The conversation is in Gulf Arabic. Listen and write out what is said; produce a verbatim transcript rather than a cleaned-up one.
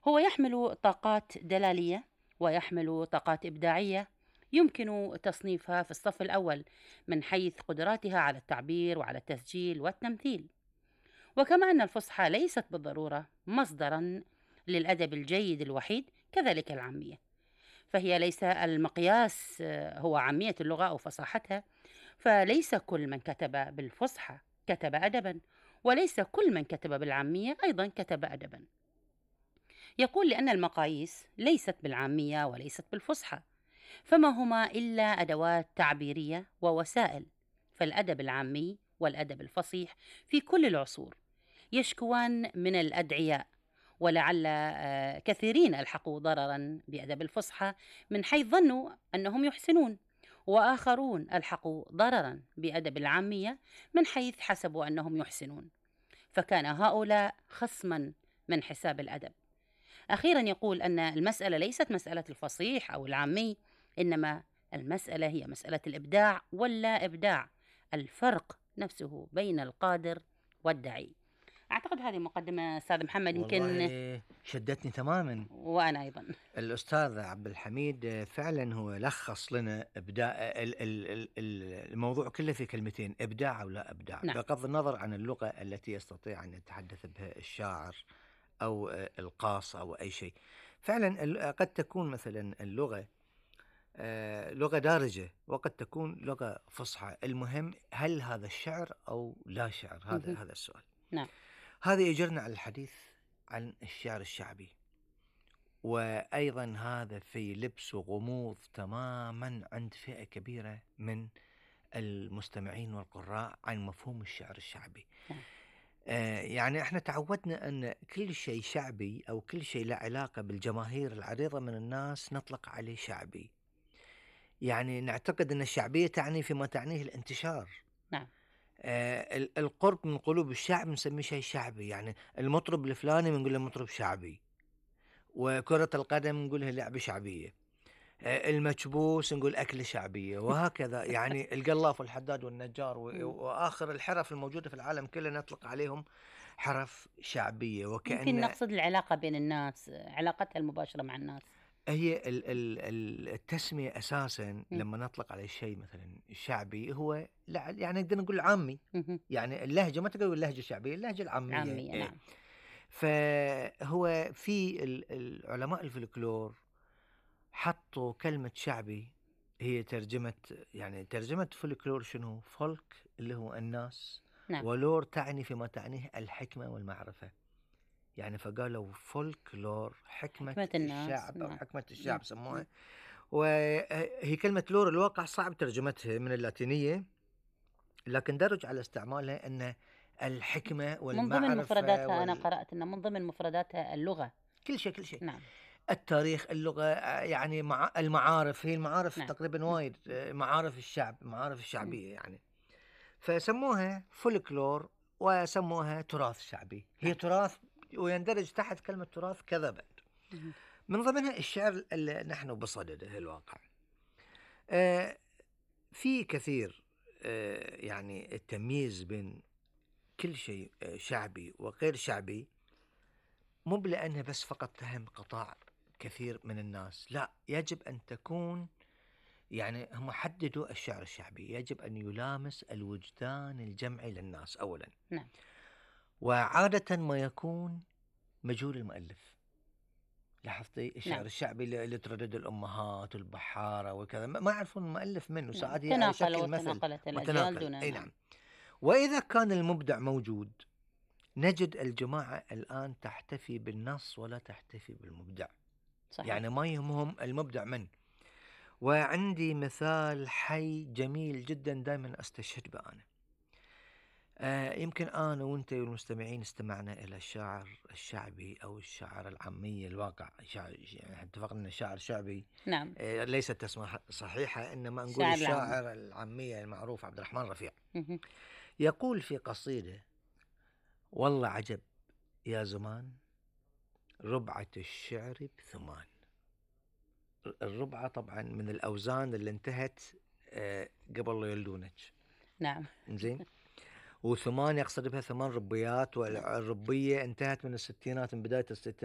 هو يحمل طاقات دلالية ويحمل طاقات إبداعية يمكن تصنيفها في الصف الأول من حيث قدراتها على التعبير وعلى التسجيل والتمثيل. وكما أن الفصحى ليست بالضرورة مصدرا للأدب الجيد الوحيد، كذلك العامية، فهي ليس المقياس آه، هو عامية اللغة أو فصاحتها، فليس كل من كتب بالفصحى كتب أدبا، وليس كل من كتب بالعامية أيضا كتب أدبا. يقول لأن المقاييس ليست بالعامية وليست بالفصحى، فما هما إلا أدوات تعبيرية ووسائل. فالأدب العامي والأدب الفصيح في كل العصور يشكوان من الأدعياء، ولعل آه، كثيرين ألحقوا ضررا بأدب الفصحى من حيث ظنوا أنهم يحسنون، وآخرون ألحقوا ضررا بأدب العامية من حيث حسبوا أنهم يحسنون، فكان هؤلاء خصما من حساب الأدب. أخيرا يقول أن المسألة ليست مسألة الفصيح أو العامي، إنما المسألة هي مسألة الإبداع واللا إبداع، الفرق نفسه بين القادر والدعي. أعتقد هذه مقدمة أستاذ محمد يمكن. والله شدتني تماما. وأنا أيضا. الأستاذ عبد الحميد فعلا هو لخص لنا إبداع ال- ال- ال- ال- الموضوع كله في كلمتين: إبداع أو لا إبداع، نعم. بغض النظر عن اللغة التي يستطيع أن يتحدث بها الشاعر أو القاص أو أي شيء. فعلا ال- قد تكون مثلا اللغة آه، لغة دارجة، وقد تكون لغة فصحى. المهم هل هذا الشعر أو لا شعر؟ هذا مهم. هذا السؤال. نعم. هذا يجرنا على الحديث عن الشعر الشعبي، وأيضا هذا في لبس وغموض تماما عند فئة كبيرة من المستمعين والقراء عن مفهوم الشعر الشعبي. نعم. آه يعني احنا تعودنا أن كل شيء شعبي أو كل شيء له علاقة بالجماهير العريضة من الناس نطلق عليه شعبي. يعني نعتقد أن الشعبية تعني فيما تعنيه الانتشار. نعم. آه ال- القرب من قلوب الشعب نسميه شيء شعبي. يعني المطرب الفلاني بنقول له مطرب شعبي، وكرة القدم نقولها لعبة شعبية، آه المكبوس نقول أكلة شعبية، وهكذا. يعني القلاف والحداد والنجار و- مم. وآخر الحرف الموجودة في العالم كله نطلق عليهم حرف شعبية، يمكن وكأن نقصد العلاقة بين الناس، علاقتها المباشرة مع الناس. هي ال- ال- ال- التسمية أساسا مم. لما نطلق على الشيء مثلا الشعبي هو لا، يعني نقدر نقول عامي. مهم. يعني اللهجة ما تقول اللهجة الشعبية، اللهجة العامية. عامية. إيه. نعم. فهو في ال- العلماء الفلكلور حطوا كلمة شعبي، هي ترجمة، يعني ترجمة فولكلور شنو؟ فولك اللي هو الناس، نعم. ولور تعني فيما تعنيه الحكمة والمعرفة. يعني فقالوا فولكلور حكمة حكمة الناس. الشعب أو نعم. حكمة مم. الشعب مم. سموها. وهي كلمة لور الواقع صعب ترجمتها من اللاتينية، لكن درج على استعمالها أن الحكمة من ضمن والمعرفة مفرداتها أنا وال... قرأت أن من ضمن مفرداتها اللغة. كل شيء كل شيء. نعم. التاريخ، اللغة، آه، يعني مع المعارف. هي المعارف نعم. تقريبا نعم. وايد، آه، معارف الشعب، معارف مم. الشعبية يعني. فسموها فولكلور وسموها تراث شعبي. هي نعم. تراث ويندرج تحت كلمة تراث كذا بعد. مم. من ضمنها الشعر اللي نحن بصدده الواقع. آه في كثير آه يعني التمييز بين كل شيء آه شعبي وغير شعبي مو بلأنه بس فقط تهم قطاع كثير من الناس، لا، يجب أن تكون، يعني هم حددوا الشعر الشعبي يجب أن يلامس الوجدان الجمعي للناس أولا، نعم. وعادة ما يكون مجهول المؤلف. لاحظتي الشعر نعم. الشعبي اللي اللي تردد الأمهات والبحارة وكذا ما ما يعرفون المؤلف منه، نعم. ساعات هي على تناقل شكل مثل وتناقلت الأجيال متناقل. دون. أي نعم. نعم. وإذا كان المبدع موجود نجد الجماعة الآن تحتفي بالنص ولا تحتفي بالمبدع. صحيح. يعني ما يهمهم المبدع من. وعندي مثال حي جميل جدا دائما أستشهد به أنا. آه يمكن أنا وأنت والمستمعين استمعنا إلى الشاعر الشعبي أو الشاعر العامي الواقع. شاعر، يعني اتفقنا أن الشاعر الشعبي نعم. آه ليست تسمية صحيحة، إنما نقول الشاعر العامي. الشاعر العامي المعروف عبد الرحمن رفيع. مهم. يقول في قصيدة: والله عجب يا زمان ربعة الشعر بثمان. الربعة طبعا من الأوزان اللي انتهت آه قبل لا يولدونك. نعم. زين. وثمان يقصد بها ثمان ربيات، والربية انتهت من الستينات، من بداية الستينات.